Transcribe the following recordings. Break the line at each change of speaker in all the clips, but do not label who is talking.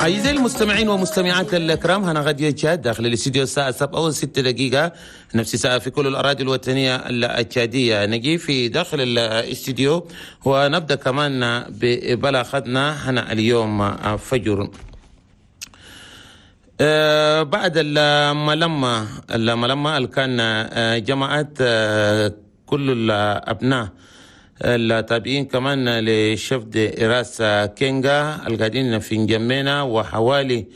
أعزائي المستمعين ومستمعات الكرام، هنا راديو تشاد داخل الاستديو الساعة 7:06، نفس ساعة في كل الأراضي الوطنية التشادية. نجي في داخل الاستديو ونبدأ كمان ببلاغتنا هنا اليوم فجر. بعد الملمة اللي كان جمعت كل الأبناء التابعين كمان ل chef de race كينغا القاعدين في نجمينا وحوالي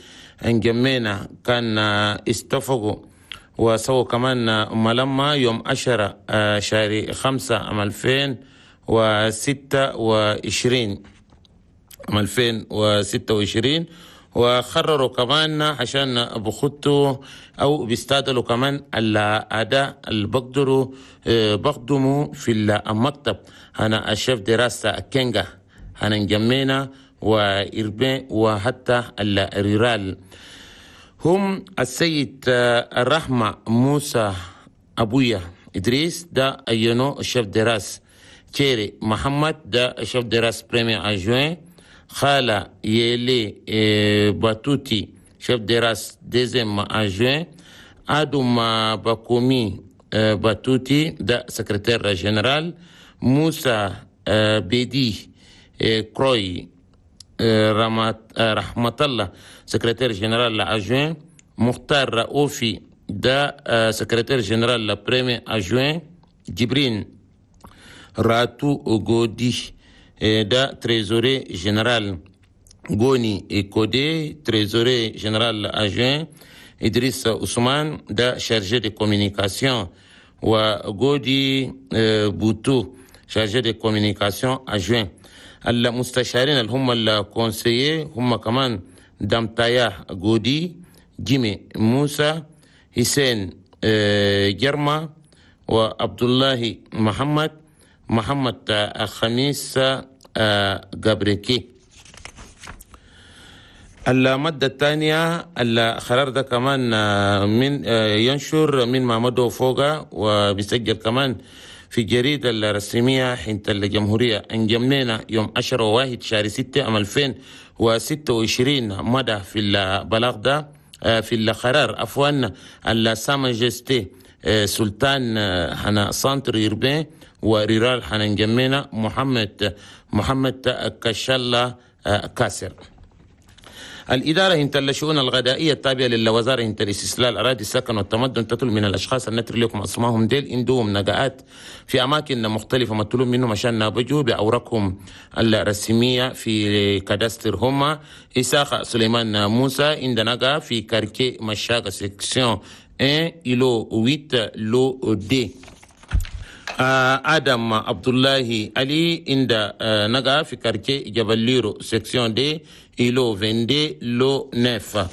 نجمينا، كان اتفقوا وسووا كمان ملمة يوم 10 شهر 5 عام 2026، عام 2026، وقرروا كمان عشان بخطوا او بيستعدلوا كمان الاداء اللي بقدروا بقدموا في المكتب هنا ال chef de race كينغا هنا نجمينا و urbain وحتى ال rural، هم السيد الرحمة موسى أبويا إدريس، ده عينو chef de race. تشيري محمد، ده chef de race premier adjoint. خالة يلي باتوتي، chef de race deuxième adjoint. آدم باكومي باتوتي، ده secrétaire général. موسى بيدي كروي رحمة الله، secrétaire général adjoint. مختار رؤوفي، ده secrétaire général premier adjoint. جبرين راتو غودي، ده trésorier général. غوني كودي، trésorier général adjoint. إدريس عثمان، ده chargé de communication، وغودي بوتو، chargé de communication adjoint. المستشارين اللي هم ال conseillers هم كمان دمتايا غودي، جيمي موسى، حسين جرما، وعبد الله محمد، محمد خميس جابريكي. المادة الثانية، القرار ده كمان من ينشر من مامدو فوقا وبيسجل كمان في الجريدة الرسمية حنت الجمهورية انجمينا يوم 10 واحد شهر 6 عام 2026. مدى في البلاغ ده، في القرار عفوا، Sa Majesté سلطان هنا centre urbain و rural هنا انجمينا محمد محمد كشالة كاسر. الإدارة هنت الشؤون الغذائية التابعة للوزارة هنت الاستصلاح الأراضي، السكن والتمدن تطلب من الأشخاص النتر لكم أسمائهم ديل عندهم نقاءات في أماكن مختلفة، مطلوب منهم عشان بجوا بأوراقهم الرسمية في cadastre. هما إساق سليمان موسى، عند نقا في quartier مشاقة، section 1، îlot 8، lot 2. آدم عبد الله علي، عند نقا في quartier جبل ليرو، section 2، îlot 22، lot 9.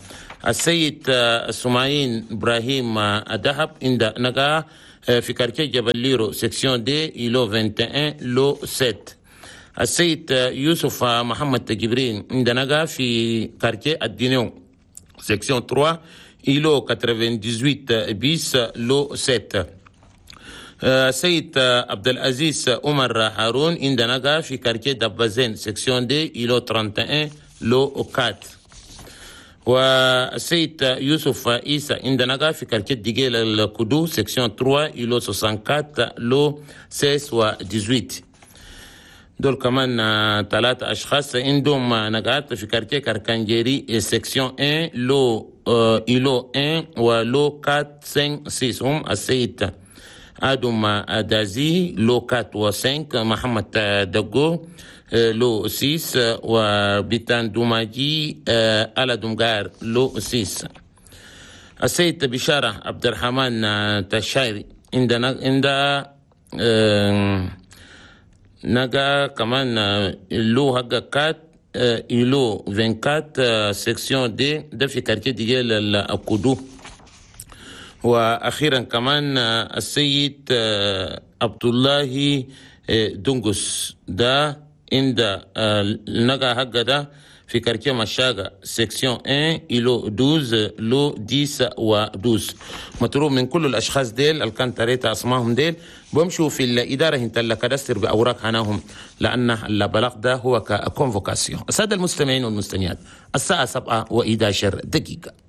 السيد سماعين إبراهيم دهب، عند نقا في quartier جبل ليرو، section 2، îlot 21، lot 7. السيد يوسف محمد جبرين، عند نقا في quartier الدينيو، section 3، îlot 98 bis، lot 7. سيد عبد العزيز عمر هارون، عند نقا في quartier دبازين، section 2، îlot 31، lot 4. والسيد يوسف عيسى، عند نقا في quartier ديجيل الكدو، section 3، îlot 64، lot 16 و 18. دول كمان ثلاثة أشخاص عندهم نقاط في quartier كركنجيري، section 1، lot îlot 1 و lot 4، 5، 6. هم السيد آدم دازي، lot 4 و 5، محمد دقو، lot 6، وبيتان دوماجي ألا دومغار، lot 6. السيد بشارة عبد الرحمن تشايري، عندنا عند نجا كمان lot حق 4، îlot 24، section 2، ده في quartier ديال الكودو. واخيرا كمان السيد عبد الله دونغوس، ده عند النجا حق ده. في quartier مشاغا، section 1، îlot 12، lot 10 و 12. مطلوب من كل الاشخاص ديل اللي كان تريت اسمائهم ديل بمشوا في الادارة هنت ال cadastre باوراق هناهم، لان البلاغ ده هو ك convocation. السادة المستمعين والمستمعات، الساعة 7 و11 دقيقه.